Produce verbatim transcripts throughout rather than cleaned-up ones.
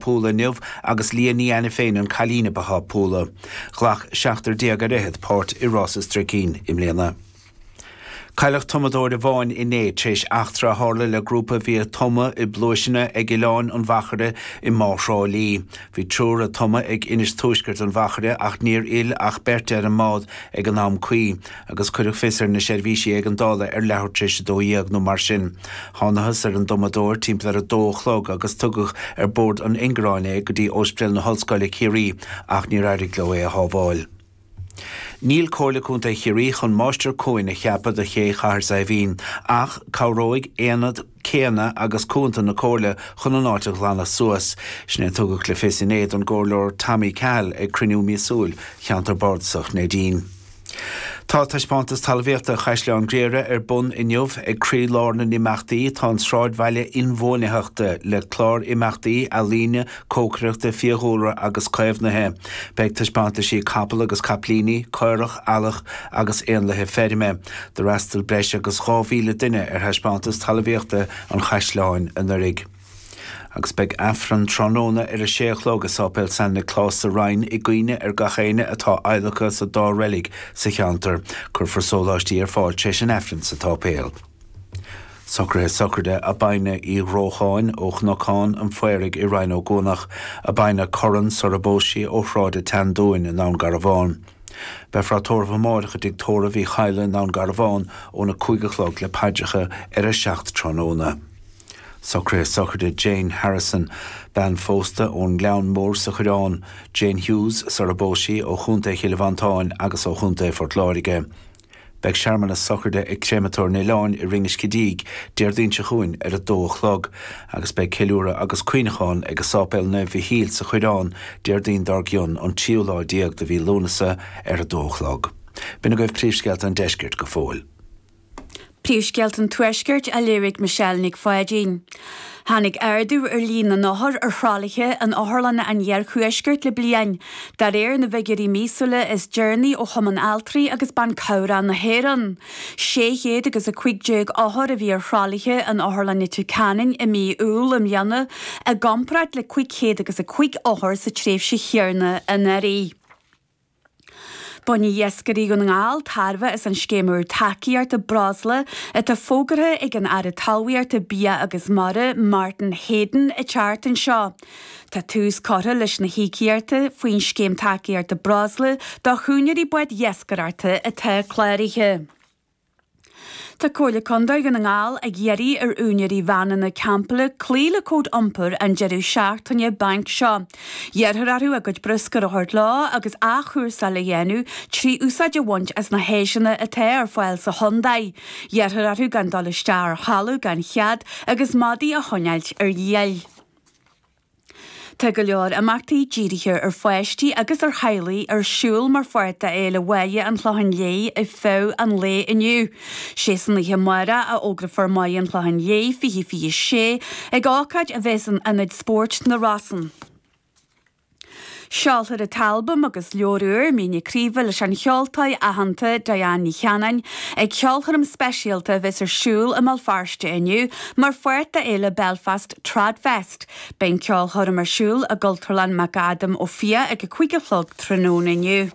Púla inniu agus Lia Ní Ainiféin an cailín a ba thapúla. Ghlac seachtar déag ar fhichead páirt i rás an Stricín i mbliana. Cailleadh tumadóir amháin inné tar éis eachtra a tharla le grúpa a bhí ag tumadh i bpluaiseanna ag Oileán an Mhachaire i mBá Thrá Lí. Bhí triúr ag tumadh ag Inis Tuaisceart an Mhachaire ach níor fhill ach beirt ar an mbád ag an am cuí, agus cuireadh fios ar na seirbhísí éigeandála ar leathuair tar éis a dó dhéag nó mar sin. Thángthas ar an dtumadóir timpeall ar a dó a chlog agus tugadh ar bord an ingearáin é go dtí Ospidéal na hOllscoile Ciarraí ach níor éirigh leo é a shábháil. Níl Comhairle Contae Chiarraí chun máistir cuain a cheapadh do ché Chathair Saidhbhín, ach cabhróidh aonad céanna agus cuanta na Comhairle chun an áit a ghlanadh suas. Sin é a tugadh le fios inné don gComhairleoir Tommy Cahill ag cruinniú míosúil Cheantar Bardasach Neidín. Tá taispeántas talmhaíochta Chaisleán Ghriaire ar bun inniu ag croílár na n-imeachtaí tá an sráidbhaile inbhuanaitheachta le clár imeachtaí ealaíne, cócaireachta, fiadhúlra agus caomhnaithe. Beidh taispeántaisí capall agus caiplíní, caorach, eallach agus éanlaithe feirme. D'fhreastail breis agus dhá mhíle duine ar thaispeántas talmhaíochta an Chaisleáin anuraidh. Agus beidh Aifreann tráthnóna ar a sé a chlog i Sáipéal San Nioclás sa Rinn i gcuimhne ar gach éinne atá adhlactha sa dá reilig sa cheantar. Cuirfear sóláistí ar fáil tar éis an Aifrinn sa tsáipéal. Socruithe sochraide Abina Uí Dhrócháin ó Chnocán an Phaoraigh i Rinn Ó gCuanach, Abina Curran sara bpós sí ó Shráid an tSeandúin i nDún Garbhán. Beifear á tórramh amárach i dtigh tórraimh Uí Chadhla i nDún Garbhán óna cúig a chlog le paidreacha ar a seacht tráthnóna. Socruithe sochraide Jane Harrison, bean phósta ón nGleann Mór sa Choireán, Jane Hughes sara bpós sí ó Chontae Chill Mhantáin agus ó Chontae Phort Láirge. Beidh searmanas sochraide ag Créamatóir an Oileáin i Rinn Uisce Díg Déardaoin seo chugainn ar a dó a chlog, agus beidh ceiliúradh agus cuimhneachán ag Sáipéal Naomh Mhichíl sa Choireán Déardaoin dár gcionn an tríú lá déag de mhí Lúnasa ar a dó a chlog. B'in agaibh príomhscéalta an deiscirt go fóill. Príomhscéalta an Tuaiscirt á léamh ag Michelle Nic Pháidín. Tháinig ardú ar líon na n-othar ar thralaithe in otharlanna an iarthuaiscirt le bliain, de réir na bhfigiúirí míosúla is deireanaí ó Chumann Altraí agus Ban Cabhrach na hÉireann. Sé chéad agus a cúig déag othar a bhí ar thralaithe in Otharlann Leitir Ceanainn i mí Iúil i mbliana, i gcomparáid le cúig chéad agus a cúig othar sa tréimhse chéanna anuraidh. Bainfidh iascairí Dhún na nGall tairbhe as an scéim úr tacaíochta breosla atá fógartha ag an Aire Talmhaíochta, Bia agus Mara, Martin Heydon, an tseachtain seo. Tá tús curtha leis na híocaíochtaí faoin scéim tacaíochta breosla do úinéirí báid iascaireachta atá cláraithe. Tá Comhairle Contae Dhún na nGall ag iarraidh ar úinéirí veaineanna campála cloí le cód iompair an deireadh seachtaine bainc seo. Iarrthar orthu a gcuid bruscair a thabhairt leo agus athchúrsáil a dhéanamh trí úsáid a bhaint as na háiseanna atá ar fáil sa chontae. Iarrthar orthu gan dul isteach ar thalamh gan chead agus madaí a choinneáilt ar iall. Tá go leor imeachtaí dírithe ar pháistí agus ar theaghlaigh ar siúl mar pháirt de Fhéile Mháire an Chlocháin Léith ar feadh an lae inniu. Sé san oíche amárach a fhógrófar Máire an Chlocháin Léith fiche fiche sé ag ócáid a bheas in Ionad Spóirt na Rosann. Seolfar an t-albam agus leabhar úr Míne Craoibhe leis an cheoltóir aitheanta Diane Ní Chanainn ag ceolchoirm speisialta a bheas ar siúl i mBéal Feirste inniu mar pháirt de fhéile Belfast Tradfest. Beidh an ceolchoirm ar siúl i gCultúrlann McAdam Ó Fiaich ag a cúig a chlog tráthnóna inniu.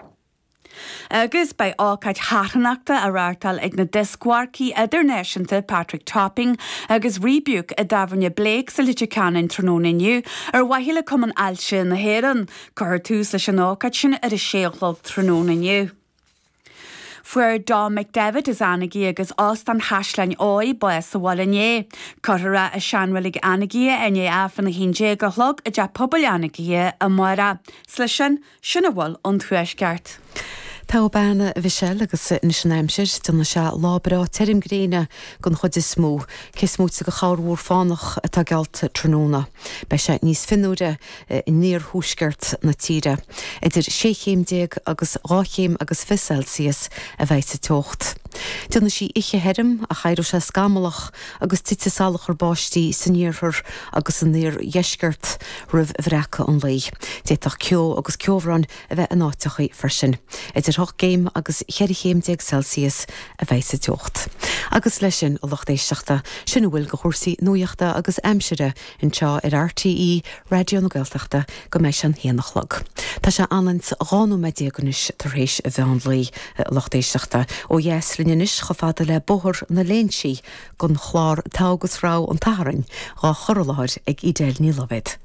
Agus beidh ócáid charthanachta á reáchtáil ag na dioscmharcaí idirnáisiúnta Patrick Topping agus Rebuke i dtábhairne Blake sa Leitir Ceanainn tráthnóna inniu ar mhaithe le Cumann Ailse na hÉireann. Cuirfear tús leis an ócáid sin ar a sé a chlog tráthnóna inniu. Fuair Dom McDevitt as Anagaire agus Óstán Chaisleáin Óidh bás sa bhaile inné. Cuirfear é i seanreilig Anagaire i ndiaidh Aifreann a haon déag a chlog i dteach pobail Anagaire amárach. 'S leis sin, sin a bhfuil ón Tuaisceart. Tá bean a Mhichelle agus anois an aimsir, déanfaidh sé lá breá tirim gréine den chuid is mó, cé is móite de chorrmhúr fánach atá geallta tráthnóna. Beidh sé níos fionnuaire in iarthuaisceart na tíre. Idir sé chéim déag agus dhá chéim agus fiche Celsius a bheidh sa teocht. Déanfaidh sí oíche thirim ach éireoidh sé scamallach agus titfidh salachar báistí san iarthar agus san iardheisceart roimh bhreacadh an lae. D'fhéadfadh ceo agus ceobhrán a bheith in áiteacha freisin. Idir hocht gcéim agus cheithre chéim déag Celsius a bheidh sa teocht. Agus leis sin, a lucht éisteachta, sin a bhfuil de chúrsaí nuachta agus aimsire anseo ar RTÉ Raidió na Gaeltachta go mbeidh sé an haon a chlog. Tá sé ionann's dhá nóiméad déag anois tar éis a mheán lae, a lucht éisteachta. Ó dheas linn anois chomh fada le Bóthar na Léinsí don chlár Togha agus Rogha an tSathairn, dhá chur i láthair ag Edel Ní Loibhéad.